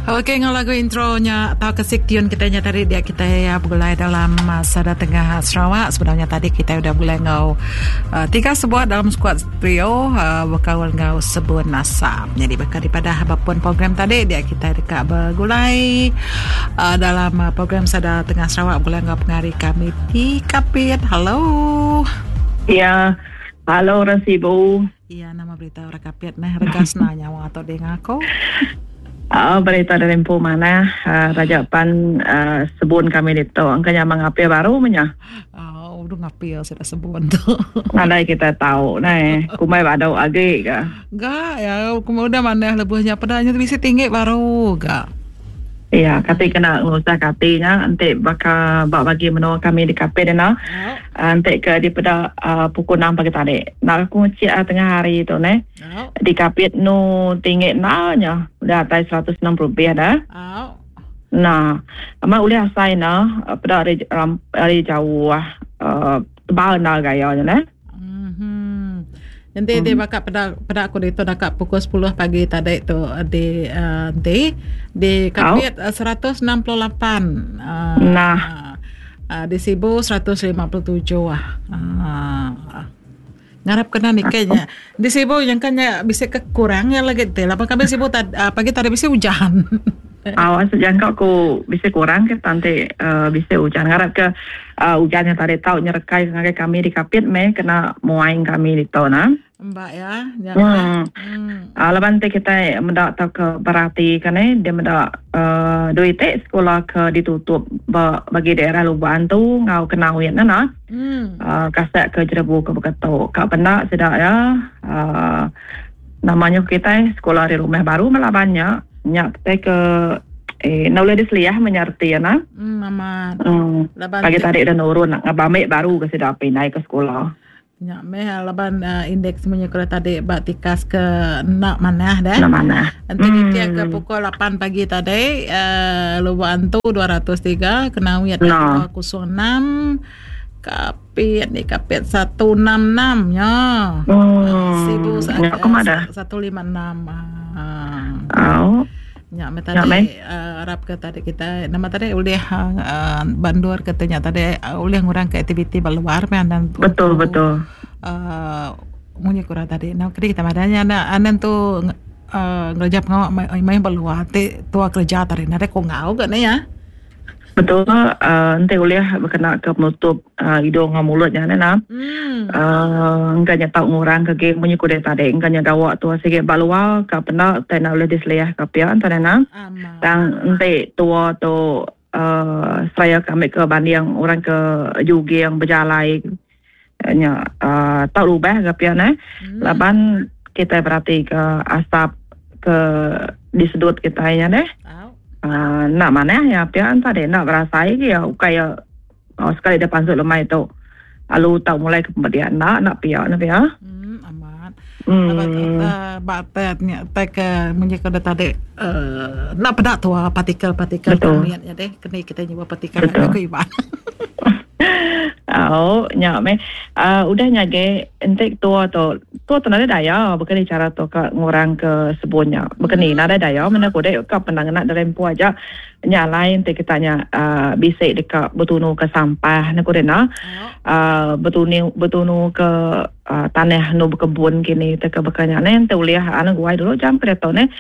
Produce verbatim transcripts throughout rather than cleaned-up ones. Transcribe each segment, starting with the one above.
Okey, ngau lagu intronya atau kesik tiun kita nya tadi dia kita ya bergulai dalam Sada Tengah Sarawak. Sebenarnya tadi kita udah bergulai ngau uh, tiga sebuah dalam skuad trio uh, berkaul ngau sebun asap. Jadi bakal daripada apapun program tadi dia kita dekat bergulai uh, dalam uh, program Sada Tengah Sarawak bergulai ngau pengari kami di Kapit. Halo. Ya. Halo orang Sibu. Ya, nama berita orang Kapit nah regasna nyawa atau dia ngaku. Uh, berita dari empu mana uh, Raja Pan uh, sebun kami itu angkanya mengapil baru menya. Oh, udah ngapil sudah sebun tu. Nadai kita tahu nah, kumai badau agi ke. Enggak ya, kumai udah mana lebuhnya padanya bisa tinggi baru enggak. Ya, kati kena ngusah katinya nanti bakal bak bagi menua kami di kafe dena. Oh. Nanti ke di pada uh, pukul enam pagi tadi. Nak aku ngecik uh, tengah hari tu ne. Oh. Di kapit nu tinggi nanya udah atas seratus enam puluh rupiah dah. Oh. Nah, amat boleh asai na pada hari hari jauh uh, tebal na gayanya ne. Nanti hmm. dia bakal pada pada aku itu dekat pukul sepuluh pagi tadi tu di uh, di di Kapit oh. seratus enam puluh lapan. Uh, nah uh, di Sibu seratus lima puluh tujuh ah. Uh, ngarap kena ni kayaknya. Di Sibu yang kanya bisa kekurangnya lagi tu. Lapan kami Sibu tad, uh, pagi tadi bisa hujan. Awas jangka aku bisa kurang ke nanti uh, bisa hujan. Ngarap ke uh, hujan yang tadi tahu nyerekai ngagai kami di Kapit me kena muaing kami di tahu nah. Mbak ya. Ya. Hmm. Hmm. Uh, lepas nanti kita mendak tahu ke berarti kan eh dia mendak uh, duit sekolah ke ditutup bagi daerah Lubuk Antu ngau kenawin nah nah. Hmm. Uh, kasak ke Jerebu ke Beketok. Kak pendak sedak ya. Uh, namanya kita sekolah di rumah baru melabannya. Nyak kita ke eh nak boleh diseliah menyerti ya nah. Hmm, mama. Hmm. Pagi tadi dah nurun nak ngabamik baru ke sudah pindah ke sekolah. Nyak meh laban uh, indeks punya kalau tadi bak tikas ke nak mana dah. Nak mana. Nanti hmm. dia ke pukul lapan pagi tadi uh, Lubuk Antu dua ratus tiga, Kenawit no. dua kosong enam, Kapit ni Kapit seratus enam puluh enam ya. Hmm. Sibu seratus lima puluh enam. Oh. Nyak me tadi uh, Arab ke tadi kita nama tadi oleh uh, bandur katanya tadi uh, oleh ngurang ke aktiviti luar dan betul betul uh, munyi kurang tadi nah kini kita madanya na anan tu uh, ngerja pengawak main main berluar te tua kerja tadi nade ko ngau ke ne ya. Betul, uh, nanti boleh berkena ke penutup uh, hidung dengan mulutnya ni nah. Hmm. Uh, engkanya tahu ngurang ke geng punya kuda tadi, engkanya gawak tu sikit baluar ke pena tak nak boleh diseliah ke pia entah nah. Tang nanti tua tu uh, saya kami ke banding orang ke juga yang berjalai nya uh, tak rubah ke pia nah. Hmm. Laban kita berarti ke asap ke disedut kita nya deh. Uh, nak mana ya pian tadi nak berasai ke ya kaya oh, sekali dia pansut lemai tu lalu tak mulai ke pemberian nak nak pia nak pia hmm amat hmm batet ni tek munyi kada tadi uh, nak pedak tu partikel-partikel kami ya deh kena kita nyoba partikel aku iban. Oh, nyak me. Uh, udah nyage entek tua tu. Tua tu nada daya, bukan cara tu ke ngurang ke sebunnya. Bukan ni nada daya, mana kodek ke penang nak dalam pu aja. Nyalain entek kitanya uh, bisik dekat bertunu ke sampah nak kodek na. Uh, bertunu bertunu ke uh, tanah nu berkebun kini teka bekanya ne ente uliah anu guai dulu jam kereta ne.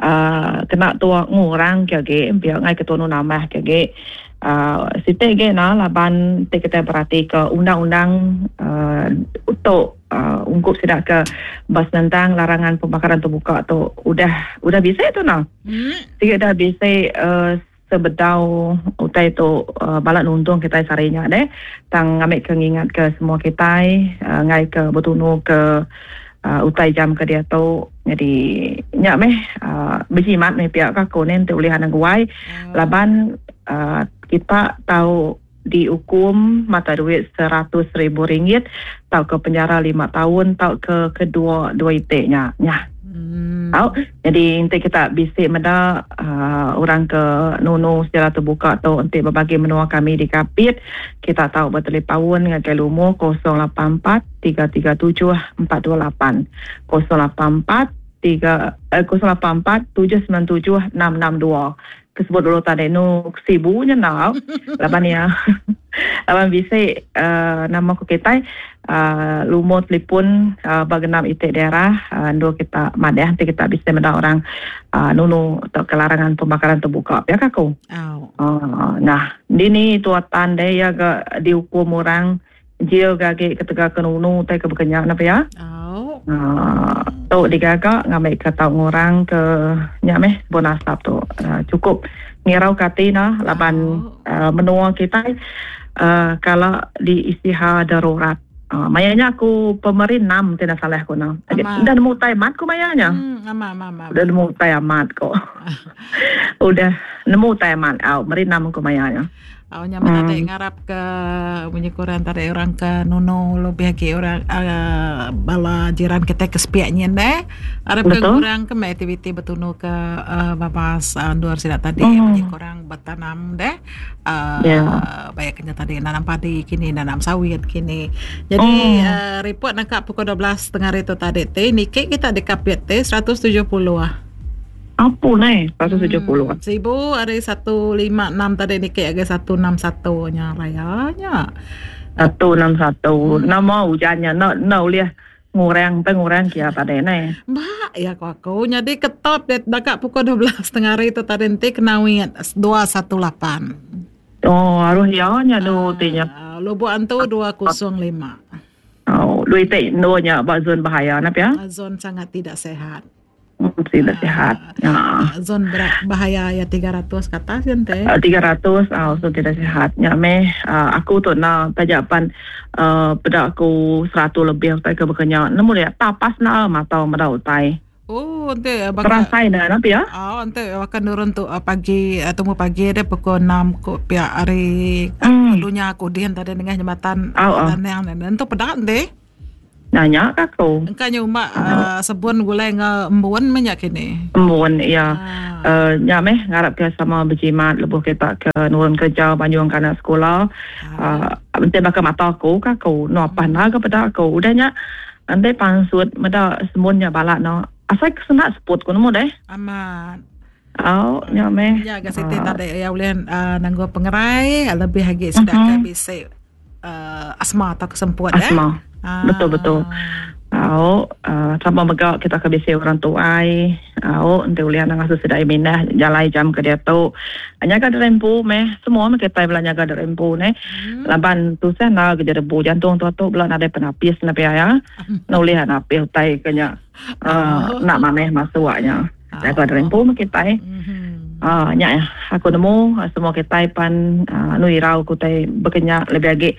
Uh, kena tua ngurang ke ge, biar ngai ke tunu namah ke ge. Uh, site ge na laban te kita berarti ke undang-undang uh, untuk uh, ungkup sidak ke bas tentang larangan pembakaran terbuka tu udah udah bisa tu na. Hmm. Tiga dah bisa uh, sebedau utai tu uh, balak nuntung kita sarinya deh tang ngambil ke ngingat ke semua kita uh, ngai ke bertunu ke uh, utai jam ke dia tu jadi nyak meh uh, berjimat meh pihak aku ni te boleh hanang guai hmm. Laban uh, kita tahu dihukum mata duit seratus ribu ringgit tau ke penjara lima tahun tau ke kedua dua itiknya nya. Hmm. Tahu jadi nanti kita bisik meda uh, orang ke nunu secara terbuka tu nanti berbagi menua kami di Kapit kita tahu bertelepaun dengan kelumu kosong lapan empat tiga tiga tujuh empat dua lapan kosong lapan empat tiga eh, kosong lapan empat tujuh sembilan tujuh enam enam dua. Kesebut dulu tadi nu sibunya nak. Laban ya. Laban bisa uh, nama ku kita uh, lumut telefon uh, bagenam itik daerah uh, dua kita madah nanti kita bisa mendak orang uh, nunu atau kelarangan pembakaran terbuka ya kaku. Oh. Uh, nah, dini tuatan deh ya ga dihukum orang jil gage ketegal kenunu tai ke bekenyak napa ya. Oh. Uh, tu digagak ngambil ke tau ngorang ke nyameh bon asap tu uh, cukup ngirau kati nah laban oh. uh, menua kita uh, kalau di istiha darurat uh, mayanya aku pemerin enam tidak salah aku nah dah nemu tai mat ku mayanya hmm, ama ama ama udah nemu tai amat kok udah nemu tai amat au merin enam ku mayanya. Oh, nyaman hmm. Tadi ngarap ke bunyi kurang tadi orang ke nuno lebih lagi orang uh, bala jiran kita ke sepiaknya deh. Arab ke kurang ke aktiviti betunu ke uh, babas uh, luar sidak tadi hmm. Bunyi kurang bertanam deh. Uh, yeah. Banyaknya tadi nanam padi kini nanam sawit kini. Jadi hmm. uh, report nangkap pukul dua belas tengah hari itu tadi teh niki kita di kapit teh seratus tujuh puluh ah. Apa nih? seratus tujuh puluh. Hmm, seribu ada seratus lima puluh enam tadi ni kayak agak seratus enam puluh satu nya rayanya. seratus enam puluh satu. Hmm. Nama hujannya nak nak boleh ngurang pengurang kia tadi ni. Mbak ya aku aku jadi ketop det dekat pukul dua belas tengah hari itu tadi nanti kena wit dua satu lapan. Oh, harus ya nya tu tinya. Lubuk antu dua kosong lima. Oh, duit te nya bak zon bahaya nap ya? Zon sangat tidak sehat. Tidak sehat. Ya. Zon bahaya ya tiga ratus kata sih tiga ratus ah so tidak sehat. Ya meh uh, aku tu na tajapan uh, pada aku seratus lebih tai ke bekenya. Nemu dia tapas na mata mata utai. Oh, nanti bakal terasai dah nampak ya? Oh, nanti akan nurun tu pagi tunggu pagi dia pukul enam ko pihak hari hmm. Dulunya aku dian tadi dengan jembatan oh, oh. Tanang dan tu pedak deh. Nanya ke aku. Engkau nyuma uh, sebun gulai nge embun banyak kini. Embun ya. Ah. Uh, nya meh ngarap ke sama berjimat lebuh kita ke nurun kerja banjung kana sekolah. Ah. Uh, nanti bakal mata aku ke aku no apa na ke pada aku. Udahnya nanti pansut meda semunnya balak no. Asal kesenak seput ku nemu deh. Aman. Oh, nya meh. Ya ke siti tadi ya ulih uh, nanggo pengerai lebih lagi sudah uh-huh. ke bisi uh, asma atau kesemput asma. Eh. Ah. Betul betul. Au, uh, sama megak kita ke bisi orang tuai. Au, ente ulian nang asus sedai minah jalai jam ke dia tu. Hanya ka derempu meh, semua meh kita belanja ka derempu ne. Hmm. Laban tu sana ke derebu jantung tu tu belah ada penapis na ya. Na ulian napis utai kenya. Uh, oh. Nak maneh masuknya. Oh. Ka derempu meh kita. Mm-hmm. Ah, uh, nya aku nemu semua kita pan uh, nu irau ku tai bekenya lebih agi.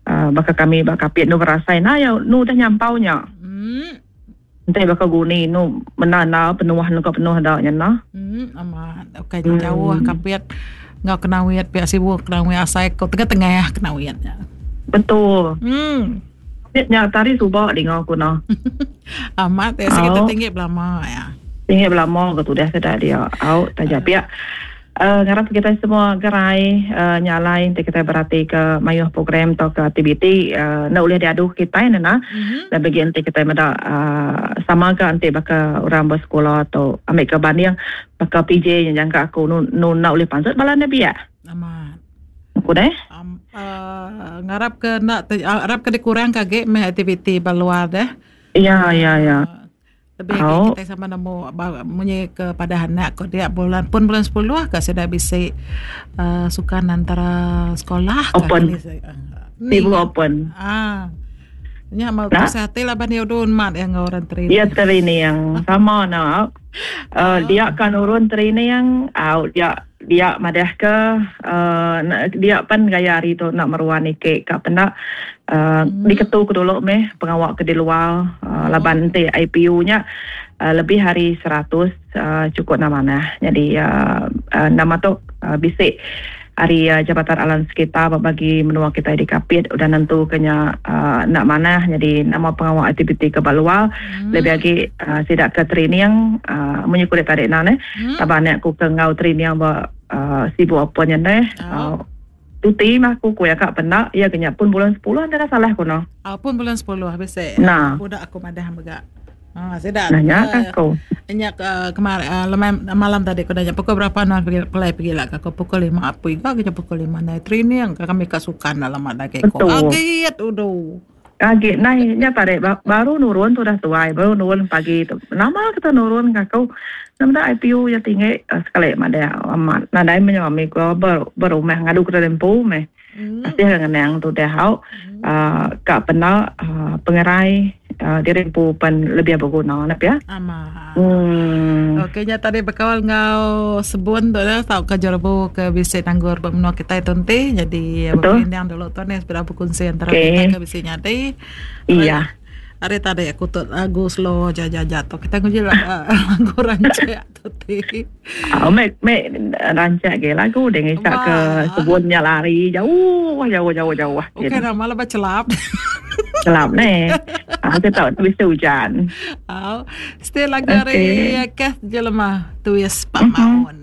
Uh, bakal kami bakal kapit nu berasai nah ya nu dah nyampaunya. Hmm. Entah bakal guni nu menana penuh nu ke penuh dah nya nah. Hmm, amat. Okey hmm. Jauh kapit ngau kena wiat pihak sibuk kena wiat asai kau tengah-tengah ya kena wiatnya. Betul. Hmm. Nya tari subak di ngau ku nah. Amat ya sekitar tinggi belama ya. Tinggi belama ke tu dah sedar dia. Au tajap ya. Uh, ngarap kita semua gerai uh, nyalai nanti kita berarti ke mayuh program atau ke aktiviti uh, nak boleh diadu kita ni nah. Mm-hmm. Dan bagi nanti kita meda uh, sama ke nanti bakal orang bersekolah atau ambil ke banding bakal P J yang jangka aku nu, nu nak boleh pansut balan dia biak. Amat. Aku deh. Um, uh, ngarap ke nak harap ke dikurang kage meh aktiviti baluar deh. Ya ya ya. Lebih oh. kita sama nemu munyi kepada anak kok dia bulan pun bulan sepuluh ke sudah bisa uh, sukan antara sekolah open. Ni Ibu open. Ah. Nya mau Nah. sehati lah ban udun mat yang orang terini. Dia terini yang sama nak. Uh, dia kan urun terini yang uh, dia dia madah ke uh, dia pan gaya hari tu nak meruan ikik ka pendak uh, Hmm. diketu ke dulu meh pengawak ke di luar uh, laban nanti I P U nya uh, lebih hari seratus uh, cukup nama nah. Jadi uh, uh, nama tu uh, bisik hari uh, Jabatan Alam Sekitar bagi menua kita di Kapit udah nentu kena uh, nak mana jadi nama pengawal aktiviti ke baluar Hmm. lebih lagi uh, sidak ke training uh, menyukur tarik na ne Hmm. taban aku ke ngau training ba uh, sibuk apa nya ne Oh. uh, tuti mah aku ku ya kak penak ya kena pun bulan sepuluh ada salah ku no Ah, pun bulan sepuluh habis eh. Nah. Budak aku madah megak. Ah, sida. Nanya ke aku. Nya uh, kemarin uh, lemai malam tadi aku nanya pukul berapa nuan pergi pelai pergi lah aku pukul lima apa juga kita pukul lima naik training ke kami kasukan dalam ada ke ko. Agit udu. Agit nai nya tadi baru nurun tu dah tuai baru nurun pagi tu. Nama kita nurun ke aku. Nama I P U ya tinggi uh, sekali mada amat. Nadai menyami ko ber, berumah ngadu ke lempu meh. Pasti ngenang tu dah hau. Uh, kak pena uh, pengerai uh, diri empu pen lebih berguna nak ya. Ama. Hmm. Okey nya tadi bekawal ngau sebun tu dah tau ke jerbu ke bisi tanggur menua kita tunti jadi berpindang dulu tu ni sepeda berkongsi antara okay. Kita ke bisi nyadi. Iya. Hari tadi aku tu lagu slow jaja-jaja tu kita nguji lagu rancak tu ti. Oh mek mek rancak ke lagu dia ngisak ke sebunnya lari jauh jauh jauh jauh. Okey dah malah bercelap. Celap ni. Aku tahu tu bisa hujan. Oh, still lagu hari Kath Jelema tuis Pak Maun.